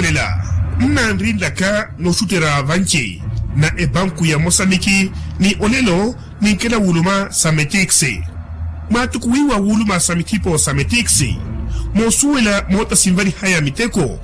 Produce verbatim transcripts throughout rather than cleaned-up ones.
Lela nnanrinlaka nooxutterya vanci na epanku ya mosamiki ni olelo ninkela wuluma sa metiksi. Mwaatukuwiwa wuluma sa mithipo sa metiksi moosuwela moota sinvalihaya miteko.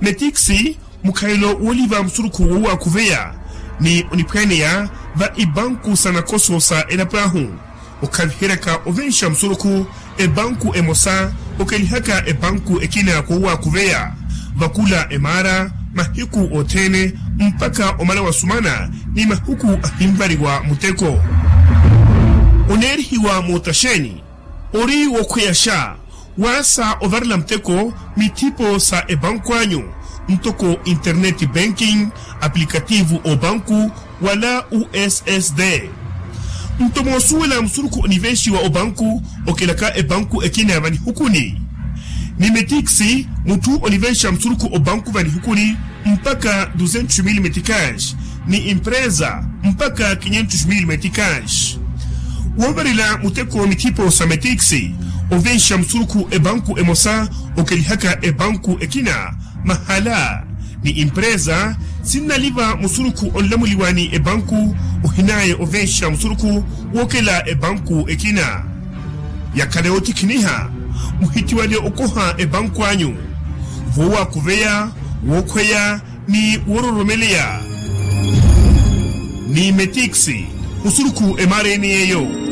Metiksi mukhayelo wooliva musurukhu wowakhuveya ni oniphwaaneya va ipanku sa nakoso sa elapo ahu. Okhaviheryaka ovenxa musurukhu epanku emosa okelihaka epanku ekina kowakhuveya vakula emaara mahiku othene mpakha omala wasumana ni mahiku ahinvariwa muteko. Oneerihiwa mootaxeeni ori wokhweyaxa waasa ovarela muteko mithipo sa epanku anyu ntoko internet banking, aplikativu opanku wala ussd. Nto moosuwela musurukhu onivenxiwa opanku okelaka epanku ekina vanihukuni ni metiksi mutthu onivenxa musurukhu opanku vanihukuni mpakha duzentos mil meticas ni empresa mpakha quinhentos mil meticas. Woovarela muteko mithipo sa metiksi ovenxa musurukhu epanku emosa okelihaka epanku ekina mahala ni empresa sinnaliva musurukhu onlamuliwa ni epanku ohinaya ovenxa musurukhu wookela epanku ekina. Yakhala yootikhiniha muhitiwale okoha epanku anyu vowakhuveya, wookhweya ni woororomeleya ni metiksi musurukhu emaara ene yeeyo.